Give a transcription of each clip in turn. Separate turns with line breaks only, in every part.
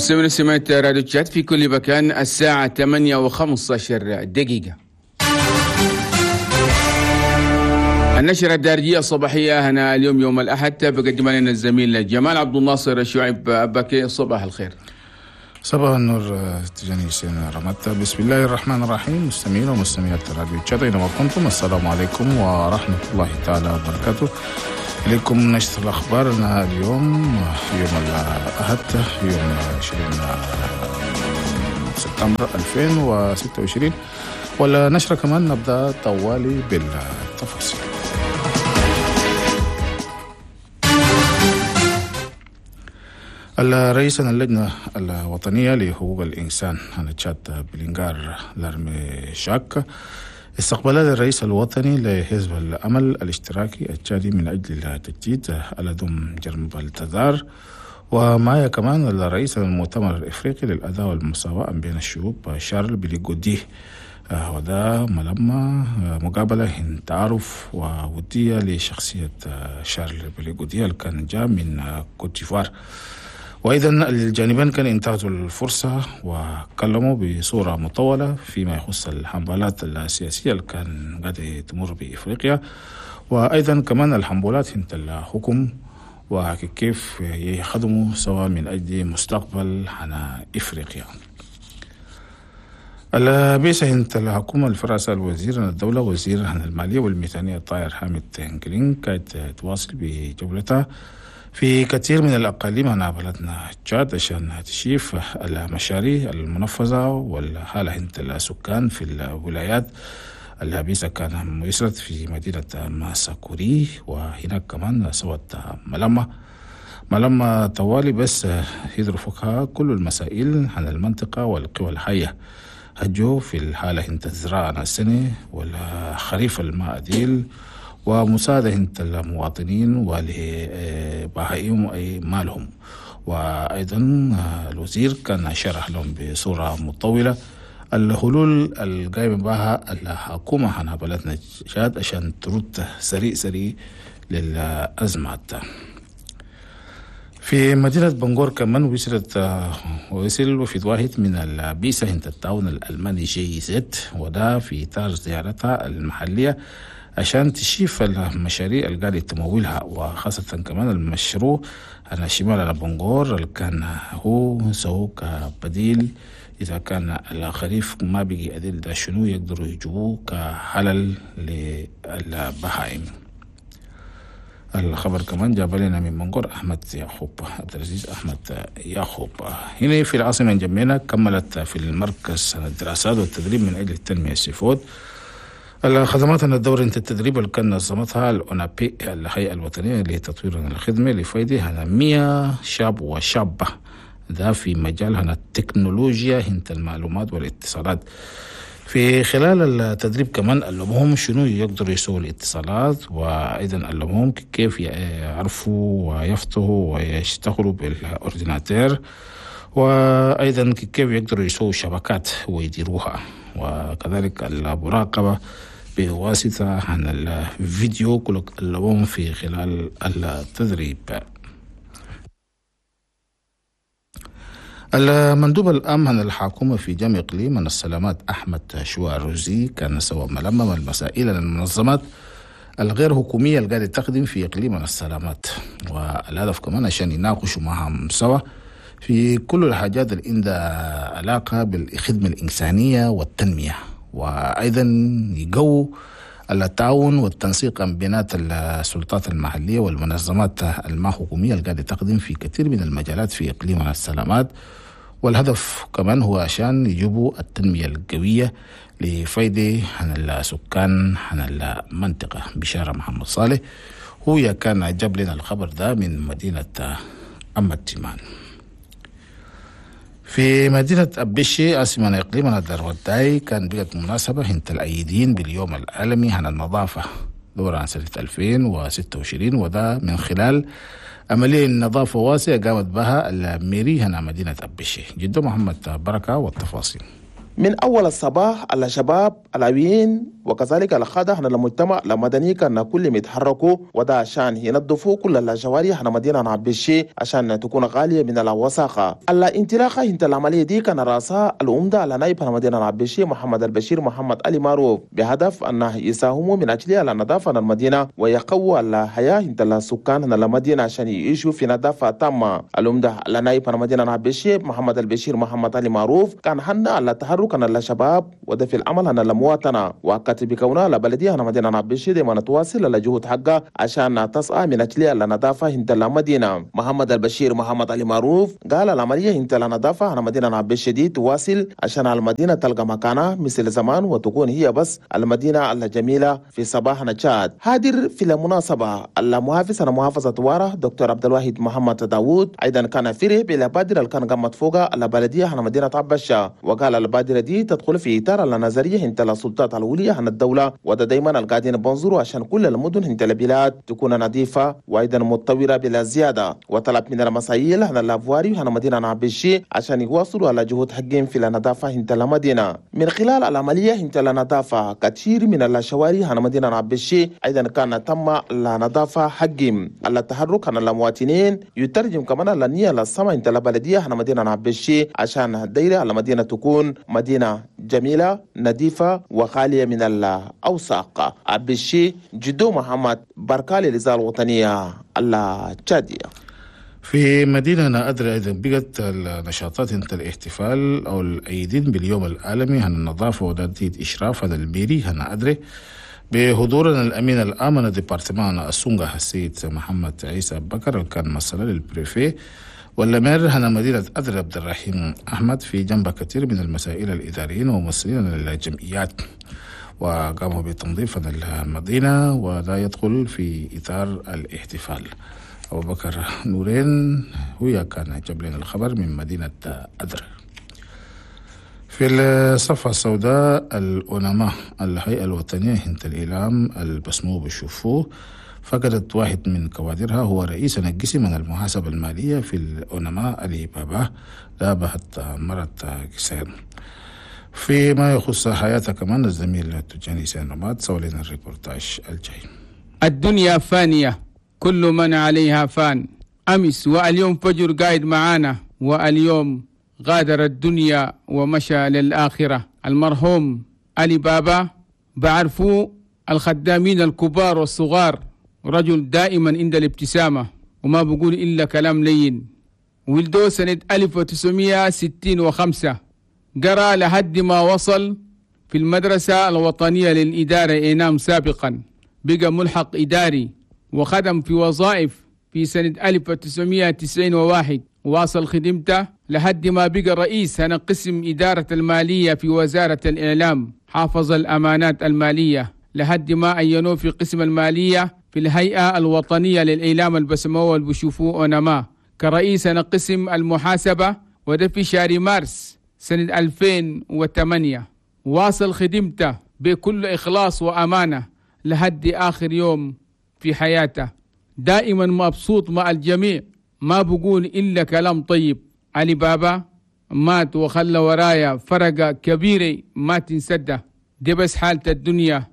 مستمعين سمعت راديو تشاد في كل مكان، الساعة 8:15. النشرة الدارجية الصباحية هنا اليوم يوم الأحد بقدم لنا الزميل جمال عبد الناصر شعيب أباكي. صباح الخير.
صباح النور تجاني سين رمتا. بسم الله الرحمن الرحيم. مستمعين ومستمعات راديو تشاد أينما كنتم، السلام عليكم ورحمة الله تعالى وبركاته. إليكم نشرة الأخبار اليوم يوم الأحد يوم 20 سبتمبر 2026، والنشرة كمان نبدأ طوالي بالتفاصيل. الرئيس اللجنة الوطنية لحقوق الإنسان عن تشاد بلينغار لارمي شاك استقبل الرئيس الوطني لحزب الأمل الاشتراكي التشادي من أجل التجديد الأدم جرم بالتزار، ومعايا كمان الرئيس المؤتمر الإفريقي للأداء والمساواة بين الشعوب شارل بليغودي، وده ملمة مقابلة تعارف وودية لشخصية شارل بليغودي اللي كان جاء من كوت ديفوار. وأيضا الجانبين كان انتهزوا الفرصة وكلموا بصورة مطولة فيما يخص الحملات السياسية اللي كان قاعدة تمر بإفريقيا، وأيضا كمان الحملات انت الحكم وكيف يخدموا سوا من أجل مستقبل على إفريقيا. البيسة انت الحكومة الفرنسا الوزير الدولة وزير المالية والميزانية الطاهر حامد تنكلين كانت تواصل بجولتها في كثير من الأقاليم على بلدنا تشاد عشان تشيف المشاريع المنفذة والحالة انت السكان في الولايات. الهبيسة كان وصلت في مدينة ماساكوري، وهناك كمان سوت ملمة طوالي بس يدرفقها كل المسائل عن المنطقة والقوى الحية هجو في الحالة انت الزراعة السنة والخريف الماء ديل ومساعدة انت المواطنين ولبهائهم أي مالهم. وأيضا الوزير كان شرح لهم بصورة مطولة الحلول القايمة بها الحكومة عن بلدنا تشاد عشان ترد سريع سريع للأزمات. في مدينة بنغور كمان وصل وفد واحد من البيسة انت التعاون الألماني جي زد، وده في إطار زيارتها المحلية عشان تشيف المشاريع اللي قاعدة تمولها، وخاصة كمان المشروع على شمال على بنغور اللي كان هو سووا كبديل إذا كان الخريف ما بيجي أدل ده شنو يقدروا يجيبوه كحلل للبهائم. الخبر كمان جاب لنا من بنغور أحمد يعقوب عبد العزيز أحمد يعقوب. هنا في العاصمة جميلة كملت في المركز الدراسات والتدريب من أجل التنمية السيفود الخدمات الدورة التدريب اللي كان نظمتها الأونابي الهيئة الوطنية لتطوير الخدمة لفائدة على 100 شاب وشابة ده في مجال هنا التكنولوجيا هنت المعلومات والاتصالات. في خلال التدريب كمان علموهم شنو يقدروا يسووا الاتصالات، وأيضا علموهم كيف يعرفوا ويفتحوا ويشتغلوا بالأورديناتير، وأيضا كيف يقدروا يسووا شبكات ويديروها، وكذلك المراقبة بواسطة عن الفيديو كل علموهم في خلال التدريب. المندوب الأمن عن الحكومة في جامع إقليم من السلامات أحمد شواروزي كان سوى ملمم المسائل المنظمات الغير حكومية اللي قاعدة تخدم في إقليم من السلامات، والهدف كمان عشان يناقشوا معهم سوا في كل الحاجات اللي عندها علاقة بالخدمة الإنسانية والتنمية، وأيضا يقووا التعاون والتنسيق بين السلطات المحلية والمنظمات الما حكومية اللي قاعدة تخدم في كثير من المجالات في إقليم السلامات. والهدف كمان هو عشان يجيبوا التنمية القوية لفايدة عن السكان عن المنطقة. بشارة محمد صالح هو كان جاب لنا الخبر ده من مدينة أم التيمان. في مدينة أبشي عاصمة إقليم الدروتاي كان بقت مناسبة هنت الأيدين باليوم العالمي عن النظافة دورة عن سنة 2026، وده من خلال عملية النظافة واسعة قامت بها الميري هنا مدينة أبشي. جدو محمد بركة والتفاصيل.
من أول الصباح على شباب العوين وكذلك القادة هنا المجتمع المدني كان كل ما يتحركوا، وده عشان ينظفوا كل الشوارع هنا مدينة عبشي عشان تكون غالية من الوساخة. الانطلاقة انت العملية دي كان رأسها العمدة على نائب هنا مدينة عبشي محمد البشير محمد علي معروف، بهدف أنه يساهموا من أجل النظافة المدينة ويقووا الحياة انت السكان هنا المدينة عشان يعيشوا في نظافة تامة. العمدة على نائب هنا مدينة عبشي محمد البشير محمد علي معروف كان حنا على تحرك هنا الشباب وده في العمل هنا المواطنة، وأكد بكونها البلدية هنا مدينة عبشي دائما تواصل الجهود حقها عشان تسعى من أجل النظافة انت المدينة. محمد البشير محمد علي معروف قال العملية انت النظافة هنا مدينة عبشي دي تواصل عشان المدينة تلقى مكانها مثل زمان وتكون هي بس المدينة الجميلة في صباح نشاد. حاضر في المناسبة المحافظ على محافظة وارة دكتور عبد الواحد محمد داوود أيضا كان فرح بالبادرة اللي كان قامت فوقها البلدية هنا مدينة عبشة، وقال البادرة دي تدخل في إطار النظرية انت السلطات الولية عن الدولة، وده دايما القاعدين بنظروا عشان كل المدن انت البلاد تكون نظيفة وأيضا متطورة بلا زيادة. وطلب من المسائل هنا الأفواري هنا مدينة عبشة عشان يواصلوا على جهود حقهم في النظافة انت المدينة. من خلال العملية انت النظافة كثير من الشوارع هنا مدينة عبشة أيضا كان تم النظافة حقهم. التحرك عن المواطنين يترجم كمان النية للسما انت البلدية هنا مدينة عبشة عشان دايرة المدينة تكون مدينة جميلة نظيفة وخالية من الأوساق. عبشة جدو محمد بركالي للإذاعة الوطنية التشادية.
في مدينة أدري أيضا بقت النشاطات انت الاحتفال أو الأيدين باليوم العالمي عن النظافة ودادية إشراف هذا الميري هنا أدري بحضورنا الأمين العام département السونغا السيد محمد عيسى بكر اللي كان مسؤول لل préfet وال maire هنا مدينة أدري عبد الرحيم أحمد في جنب كثير من المسائل الإداريين وممثلين للجمعيات، وقاموا بتنظيف المدينة ولا يدخل في إطار الاحتفال. أبو بكر نورين هو كان جاب لنا الخبر من مدينة أدري. في الصفحة السوداء الأونما الهيئة الوطنية هنت الإعلام البسمو بشوفوه فقدت واحد من كوادرها هو رئيس القسم من المحاسبة المالية في الأونما علي بابا لابهت مرة كسير. فيما يخص حياتها كمان الزميل التجاني سين رماد سوى لنا الريبورتاج الجاي.
الدنيا فانية كل من عليها فان. أمس واليوم فجر قاعد معانا واليوم غادر الدنيا ومشى للآخرة. المرحوم علي بابا بعرفوه الخدامين الكبار والصغار، رجل دائما عند الابتسامة وما بقول إلا كلام لين. ولدوه سنة 1965، قرأ لحد ما وصل في المدرسة الوطنية للإدارة إينام سابقا، بقى ملحق إداري وخدم في وظائف في سنة 1991، واصل خدمته لحد ما بقى رئيس هنا قسم إدارة المالية في وزارة الإعلام، حافظ الأمانات المالية لحد ما عينوه في قسم المالية في الهيئة الوطنية للإعلام البسموه والبشوفوه أونما كرئيس هنا قسم المحاسبة، وده في شهر مارس سنة 2008. واصل خدمته بكل إخلاص وأمانة لحد آخر يوم في حياته، دائما مبسوط مع الجميع، ما بقول إلا كلام طيب. علي بابا مات وخلى ورايا فرقة كبيرة ما تنسده، دي بس حالة الدنيا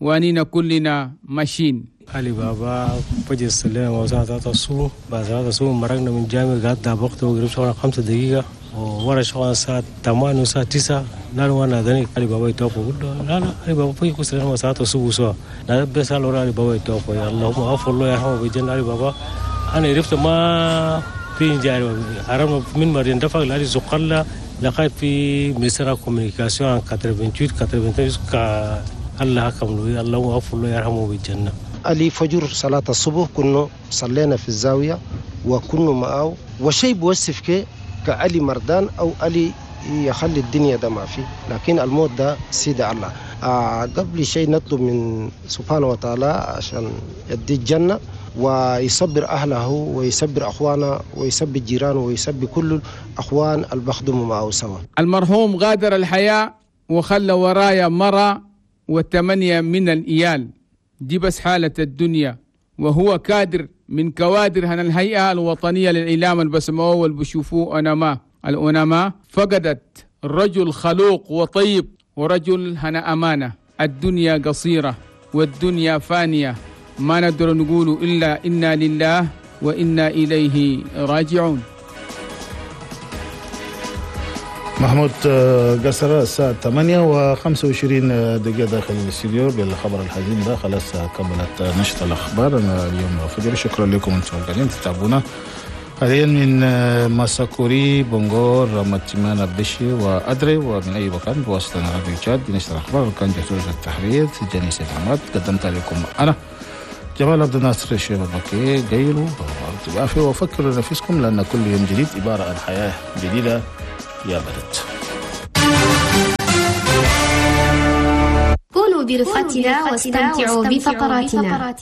وأنينا كلنا ماشيين.
علي بابا فجر السلام وساعة 3 الصبح، بعد 3 الصبح مرقنا من الجامع قعدنا وقت وقريب شغلنا 5 دقيقة وورا شغلنا الساعة 8 والساعة 9. لا وانا دني علي بابا يتوفى، قلت له لا لا علي بابا فجر السلام وساعة الصبح سوا لا بس على علي بابا يتوفى، يا اللهم اغفر له يرحمه بالجنة. علي بابا انا عرفت ما في جاري عرفنا من مرين دفع لعلي زقلة لقيت في مصر كوميونيكاسيون 88 89 الله حكم له اللهم اغفر له يرحمه بالجنة.
علي فجر صلاة الصبح كنا صلينا في الزاوية وكنا معه وشيء بوصف كعلي مردان أو علي يخلي الدنيا ده ما فيه، لكن الموت ده سيد الله. قبل شيء نطلب من سبحانه وتعالى عشان يدي الجنة ويصبر أهله ويصبر أخوانه ويصبر جيرانه ويصبر كل الأخوان اللي بخدموا معه سوا.
المرحوم غادر الحياة وخلى ورايا مرة و8 من الإيال، دي بس حالة الدنيا. وهو كادر من كوادر هنا الهيئة الوطنية للإعلام البسموه والبشوفوه أنما الأنما فقدت رجل خلوق وطيب ورجل هنا أمانة. الدنيا قصيرة والدنيا فانية، ما نقدر نقول إلا إنا لله وإنا إليه راجعون.
محمود قصر الساعة 8:25 داخل الاستديو بالخبر الحزين ده. خلاص كملت نشرة الأخبار أنا اليوم فجر. شكرا لكم أنتم القاعدين تتابعونا حاليا من ماساكوري، بونغور، ماتيمانا، بشي وأدري ومن أي مكان بواسطة راديو تشاد. نشرة الأخبار كان جهة التحرير جاني سيد عماد، قدمتها لكم أنا جمال عبد الناصر الشيخ البكي. قيلوا وعافية وفكروا لنفسكم، لأن كل يوم جديد عبارة عن حياة جديدة يا بلد.
كونوا برفقتنا واستمتعوا بفقراتنا.